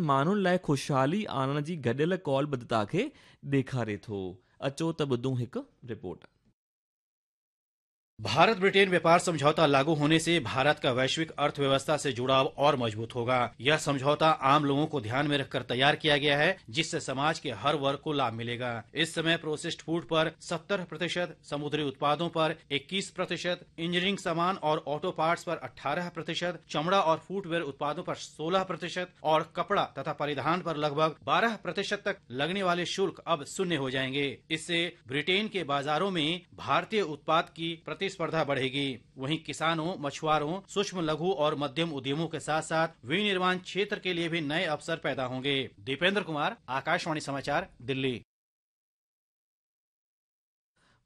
ماڻهن لاءِ خوشحالي آڻڻ جي گڏيل قولبڌتا کي ڏيکاري ٿو. اچو ته ٻڌون هڪ رپورٽ. भारत ब्रिटेन व्यापार समझौता लागू होने से भारत का वैश्विक अर्थव्यवस्था से जुड़ाव और मजबूत होगा। यह समझौता आम लोगों को ध्यान में रखकर तैयार किया गया है, जिससे समाज के हर वर्ग को लाभ मिलेगा। इस समय प्रोसेस्ड फूड पर 70%, समुद्री उत्पादों पर 21%, इंजीनियरिंग सामान और ऑटो पार्ट्स पर 18%, चमड़ा और फुटवेयर उत्पादों पर 16% और कपड़ा तथा परिधान पर लगभग 12% तक लगने वाले शुल्क अब शून्य हो जाएंगे। इससे ब्रिटेन के बाजारों में भारतीय उत्पाद की प्रतिस्पर्धा बढ़ेगी। वहीं किसानों, मछुआरों, सूक्ष्म लघु और मध्यम उद्यमों के साथ साथ विनिर्माण क्षेत्र के लिए भी नए अवसर पैदा होंगे। दीपेंद्र कुमार, आकाशवाणी समाचार, दिल्ली।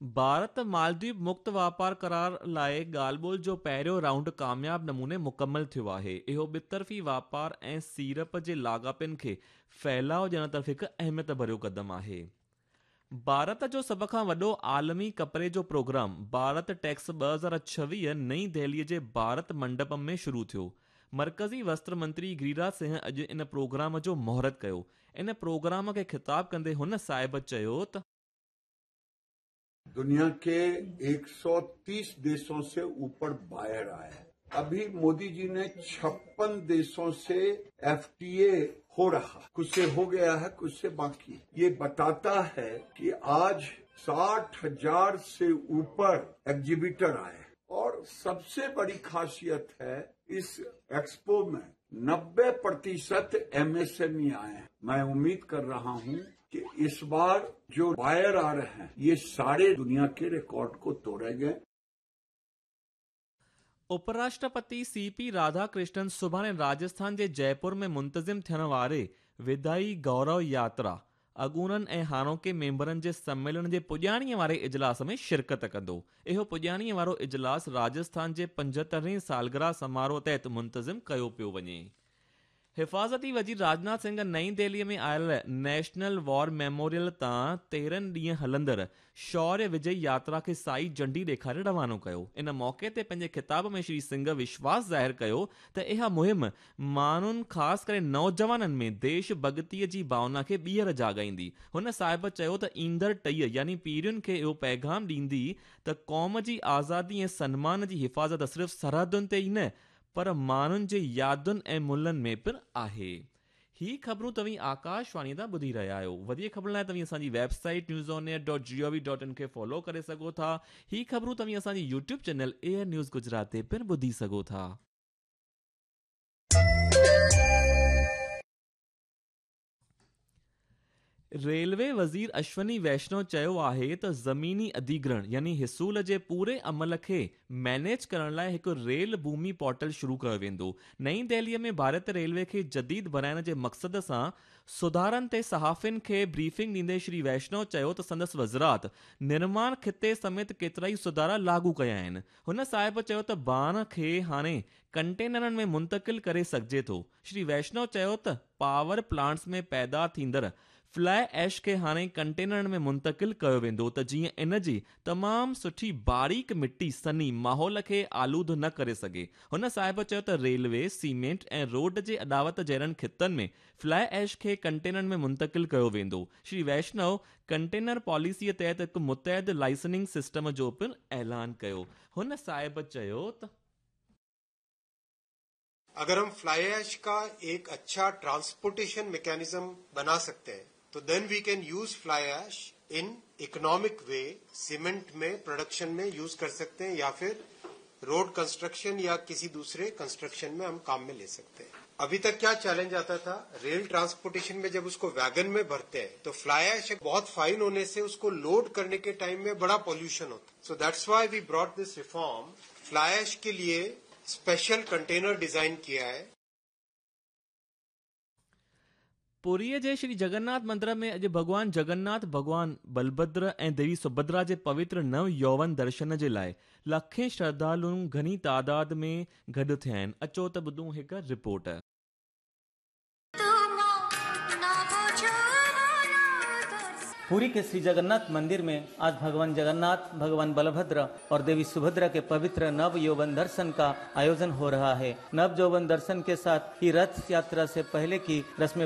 भारत मालदीव मुक्त वापार करार लाइ ॻाल्हि ॿोल जो पहिरियों राउंड कामयाब नमूने मुकमल थियो आहे। इहो ॿितरफ़ी वापार ऐं सीड़प जे लाॻापिनि खे फैलाव ॾियण तरफ़ हिकु अहमियत भरियो क़दम आहे। भारत जो सभ खां वॾो आलमी कपिड़े जो प्रोग्राम भारत टैक्स 2026 नई दिल्लीअ जे भारत मंडपम में शुरू थियो। मर्कज़ी वस्त्र मंत्री गिरिराज सिंह अॼु इन प्रोग्राम जो मुहूर्त कयो। इन प्रोग्राम खे ख़िताब कंदे हुन साहिब चयो त दुनिया के 130 देशों से ऊपर बायर आए हैं। अभी मोदी जी ने 56 देशों से एफटीए हो रहा, कुछ से हो गया है, कुछ से बाकी है। ये बताता है कि आज 60,000 से ऊपर एग्जीबिटर आए और सबसे बड़ी खासियत है इस एक्सपो में 90% एमएसएमई आए हैं। मैं उम्मीद कर रहा हूं कि इस बार जो बायर आ रहे हैं ये सारे दुनिया के रिकॉर्ड को तोड़ेंगे। उपराष्ट्रपति सीपी राधाकृष्णन सुभाणे राजस्थान जे जयपुर में मुंतज़िम थियण वारे विदाई गौरव यात्रा अॻूणनि ऐं हाणोके मेंबरनि जे सम्मेलन जे पुॼाणीअ वारे इजलास में शिरकत कंदो। इहो पुॼाणीअ वारो इजलास राजस्थान जे 75वीं सालगिरह समारोह तहत मुंतज़िम कयो पियो वञे। हिफाज़ती वज़ीर राजनाथ सिंह नई दिल्लीअ में आयल नेशनल वॉर मेमोरियल तां 13 ॾींहं हलंदड़ शौर्य विजय यात्रा खे साई झंडी ॾेखारे रवानो कयो। इन मौक़े ते पंहिंजे ख़िताब में श्री सिंह विश्वास ज़ाहिर कयो त इहा मुहिम माण्हुनि ख़ासि करे नौजवाननि में देश भॻतीअ जी भावना खे ॿीहर जाॻाईंदी। हुन साहिब चयो त ईंदड़ टहीअ यानी पीढ़ियुनि खे इहो पैगाम ॾींदी त क़ौम जी आज़ादी ऐं सनमान जी हिफाज़त सिर्फ़ सरहदुनि ते ई न पर माण्हुनि जे यादुनि ऐं मुलनि में पिणु आहे। ही ख़बरूं तव्हीं आकाशवाणी तां ॿुधी रहिया आहियो। वधीक ख़बरुनि लाइ तव्हीं असांजी वेबसाइट newsonair.gov.in खे फॉलो करे सघो था। ही ख़बरूं तव्हीं असांजी YouTube channel air news Gujarat ते पिणु ॿुधी सघो था। रेलवे वज़ीर अश्वनी वैष्णव चयो आहे त ज़मीनी अधिग्रहण यानी हिसूल जे पूरे अमल खे मैनेज करण लाइ हिकु रेल भूमि पोर्टल शुरू कयो वेंदो। नई दिल्लीअ में भारत रेलवे खे जदीद बणाइण जे मक़सद सां सुधारनि ते सहाफ़ियुनि खे ब्रीफिंग ॾींदे श्री वैष्णव चयो त संदसि वज़ारत निर्माण खिते समेत केतिरा ई सुधारा लागू कया आहिनि। हुन साहिब चयो त बाण खे हाणे कंटेनरनि में मुंतकिल करे सघिजे थो। श्री वैष्णव चयो त पावर प्लांट्स में पैदा थींदड़ फ्लाई ऐश खे हाणे कंटेनरनि में मुंतकिल कयो वेंदो त जीअं इन जी तमामु सुठी बारीक मिटी सनी माहौल खे आलूद न करे सघे। हुन साहिब चयो त रेलवे, सीमेंट ऐं रोड जे अॾावत जहिड़नि खितनि में फ्लाई ऐश खे कंटेनरनि में मुंतकिल कयो वेंदो। श्री वैष्णव कंटेनर पॉलिसीअ तहत हिकु मुतहद लाइसेंसिंग सिस्टम जो पिणु ऐलान कयो। हुन साहिब चयो त अगर हम फ्लाई ऐश का एक अच्छा ट्रांसपोर्टेशन मैकेनिज्म बना सकते हैं तो then we can use fly ash in economic way, cement में प्रोडक्शन में यूज कर सकते हैं या फिर रोड कंस्ट्रक्शन या किसी दूसरे कंस्ट्रक्शन में हम काम में ले सकते हैं। अभी तक क्या चैलेंज आता था, रेल ट्रांसपोर्टेशन में जब उसको वैगन में भरते हैं तो फ्लाई ऐश बहुत फाइन होने से उसको लोड करने के टाइम में बड़ा पॉल्यूशन होता है। So that's why we brought this reform. Fly ash के लिए स्पेशल कंटेनर डिजाइन किया है। पुरीअ जे श्री जगन्नाथ मंदिर में अॼु भॻवान जगन्नाथ, भॻवान बलभद्र ऐं देवी सुभद्रा जे पवित्र नव यौवन दर्शन जे लाइ लाखें श्रद्धालु घणी तादाद में गॾु थिया आहिनि। अचो त ॿुधूं हिकु रिपोर्ट। पुरी के श्री जगन्नाथ मंदिर में आज भगवान जगन्नाथ, भगवान बलभद्र और देवी सुभद्रा के पवित्र नव यौवन दर्शन का आयोजन हो रहा है। नव यौवन दर्शन के साथ ही रथ यात्रा से पहले की रस्में